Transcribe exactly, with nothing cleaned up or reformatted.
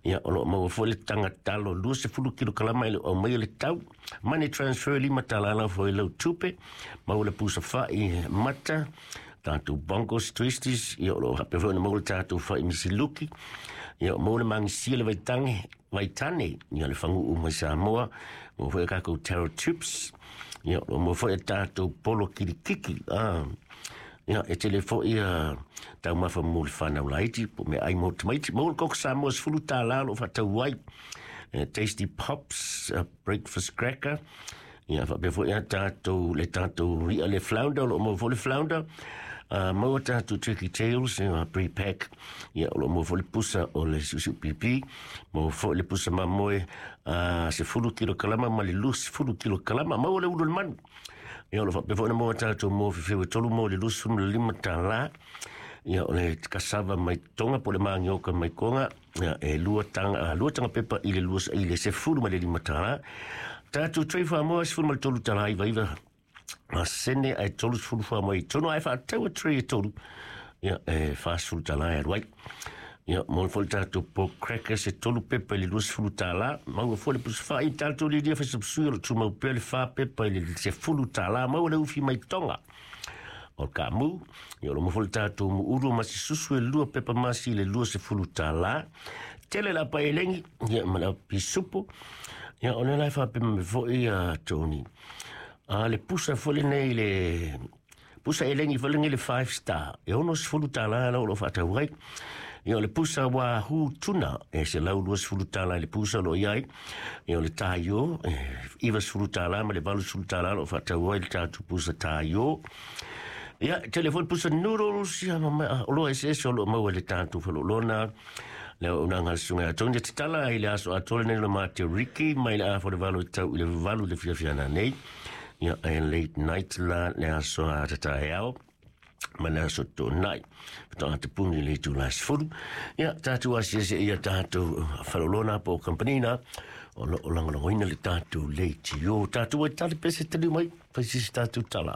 Ia, o lo o maua foi le taga talo luasefulu kilokalama e le o aumaia le tau. Money transfer lima tala lau foi lau tupe. Maua le pusa fai mata, tatou bongos twisties, ia o lo o faapea foi ona maua le tatou fai misiluki. Ia, maua le magisia le vaitange, vaitane, ia le faguu mai Samoa, maua foi a tatou taro chips, ia o lo o maua foi a tatou polo kilikiki. Ah, ia, e tele foi a taumafa mo le whanau laiti, po me ai mo tamaiti. Maua le koko Samoa sefulu tālā o lo o faatau ai. Eh, Tasty Pops, uh, breakfast cracker. Ia, faapea foi a tatou, le tatou ia le flounder, o lo o maua foi le flounder. Uh, maua tatou turkey tails, ia, pre-pack. Ia, o lo o maua foi le pusa o le siusiu pipi. Maua foi le pusa mamoe, uh, sefulu kilokalama ma le luasefulu kilokalama. Maua le ulu o le manu. Ia, o lo o faapea foi ona maua tatou moa fefeu e tolu mo le luasefulu ma le lima tālā. Ia, o le cassava mai Tonga po o le magioka mai Konga, ia, e lua taga, lua taga pepa i le lua, i le sefulu ma le lima tālā. Tatou tray fuamoa sefulu ma le tolu tālā iva iva ma sene ae tolusefulu fuamoa i tonu ae faatau a tray e tolu. Ia, e fasefulu tālā e alu ai. Ia, mo le foi le tatou pork crackers e tolu pepa i le luasefulu tālā. Maua foi le pusa fai tatou lilia faisapsui o lo o tumau pea le fa pepa i le sefulu tālā. Maua le ufi mai Tonga o le kaamu. Ia, o lo o maua foi le tatou muuru masi susu e lua pepa masi i le luasefulu tālā. Tele la pa elegi, ia, ma le pisupo. Ia, o le la e faapea mai foi a Tony. A le pusa foi lenei le pusa elegi foi lenei le five star. E onosefulu tālā la o lo o faatau ai. Ia, o le pusa wahoo tuna e selau luasefulu tālā i le pusa o lo o i ai. Ia, o le taio e ivasefulu tālā ma le valusefulu tālā o lo o faatau ai le tatou pusa taio. Ia, tele foi le pusa noodles, ia, ma ma o lo eseese o lo o maua i le tatou faleoloa. Le auaunaga a le susuga ia Tony e tatala ai le aso atoa lenei o le Mate Ricky mai le afa o le valo i tau i le valu i le fiafiaga nei. Ia, e late night la le aso a tataeao ma le aso toonai. Faatoa tapuni i le itula sefulu. Ia, tatou asiasi ia tatou faleoloa po o kampanina o lo o lagolagoina le tatou leitio. Tatou ai tali pese taliu mai, fai sisi tatou tala.